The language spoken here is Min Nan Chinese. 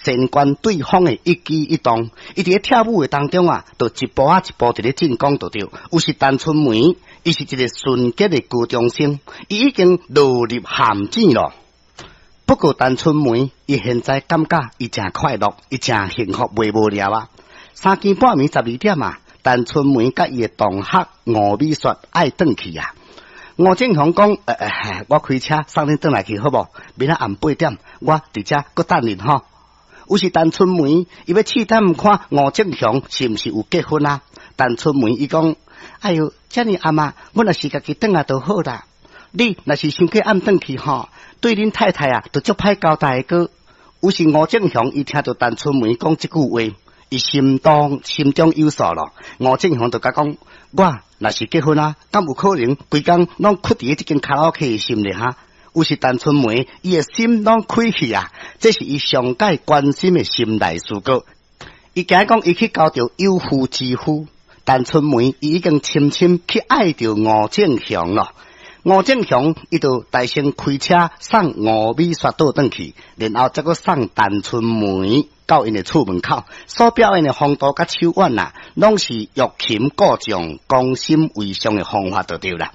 先觀對方的一舉一動，伊佇咧跳舞的當中啊，就一步仔一步佇咧進攻就對。有時陳春梅，伊是一个純潔的高中生，伊已經落入陷阱咯。不過陳春梅，伊現在感覺伊誠快樂，伊誠幸福，袂無聊啊。三更半暝12點啊，陳春梅佮伊的同學吳美雪愛轉去啊。吳正雄講：我開車送恁轉來去好無？明仔暗8點，我佇遮閣等恁吼。有時陳春梅，伊欲試探看吳正雄是毋是有結婚啊？陳春梅伊講：哎喲，遮爾暗啊，阮若是家己轉來就好啦。你若是傷過暗轉去吼，對恁太太啊，就足歹交代個。有時吳正雄伊聽著陳春梅講這句話，伊心中有數咯。吳正雄就共講：我若是結婚啊，敢有可能規工攏屈佇這間卡拉 OK 的心裡哈？有時陳春梅，伊的心攏開去啊，這是伊上蓋關心的心內事過。伊驚講伊去交著有婦之夫，陳春梅伊已經深深去愛著吳正雄咯。吳正雄伊就代先開車送吳美雪倒轉去，然後再閣送陳春梅到𪜶的厝門口。所表演的風度佮手腕啊，攏是欲擒故縱、攻心為上的方法就對啦。